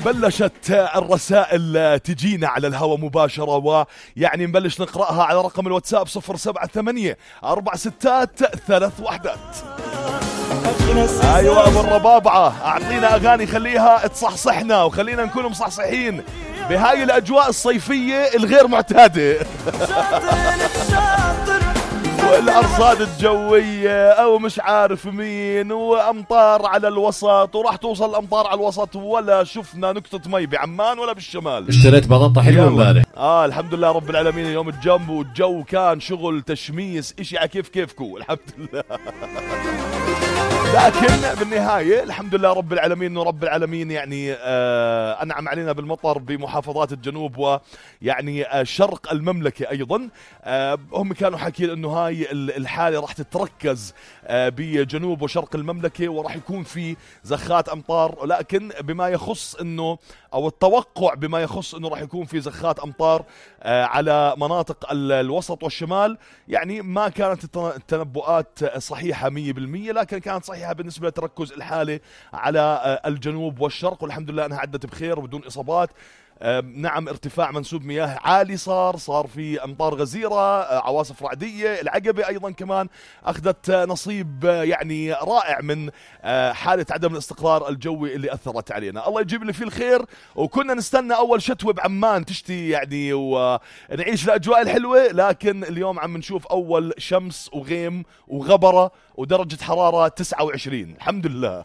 بلشت الرسائل تجينا على الهواء مباشرة، ويعني نبلش نقرأها على رقم الواتساب 078-463-3 أيوة أبو الربابعة، أعطينا أغاني خليها تصحصحنا وخلينا نكون مصحصحين بهاي الأجواء الصيفية الغير معتادة والأرصاد الجوية أو مش عارف مين، وأمطار على الوسط، وراح توصل الأمطار على الوسط ولا شفنا نقطة مي بعمان ولا بالشمال. اشتريت بطاطا حلوة امبارح. الحمد لله رب العالمين. اليوم الجو كان شغل تشميس إشي على كيفكو الحمد لله لكن بالنهاية الحمد لله رب العالمين إنه رب العالمين يعني أنعم علينا بالمطر بمحافظات الجنوب ويعني شرق المملكة أيضا. هم كانوا حاكين إنه هاي الحالة راح تتركز بجنوب وشرق المملكة وراح يكون في زخات أمطار، لكن بما يخص إنه أو التوقع بما يخص إنه راح يكون في زخات أمطار على مناطق الوسط والشمال، يعني ما كانت التنبؤات صحيحة 100%، لكن كانت صحيحة بالنسبة لتركز الحالة على الجنوب والشرق، والحمد لله أنها عدت بخير وبدون إصابات. نعم ارتفاع منسوب مياه عالي صار في أمطار غزيرة، عواصف رعدية. العقبة أيضا كمان أخذت نصيب يعني رائع من حالة عدم الاستقرار الجوي اللي أثرت علينا. الله يجيب لي فيه الخير، وكنا نستنى أول شتوة بعمان تشتي يعني ونعيش الأجواء الحلوة، لكن اليوم عم نشوف أول شمس وغيم وغبرة ودرجة حرارة 29 الحمد لله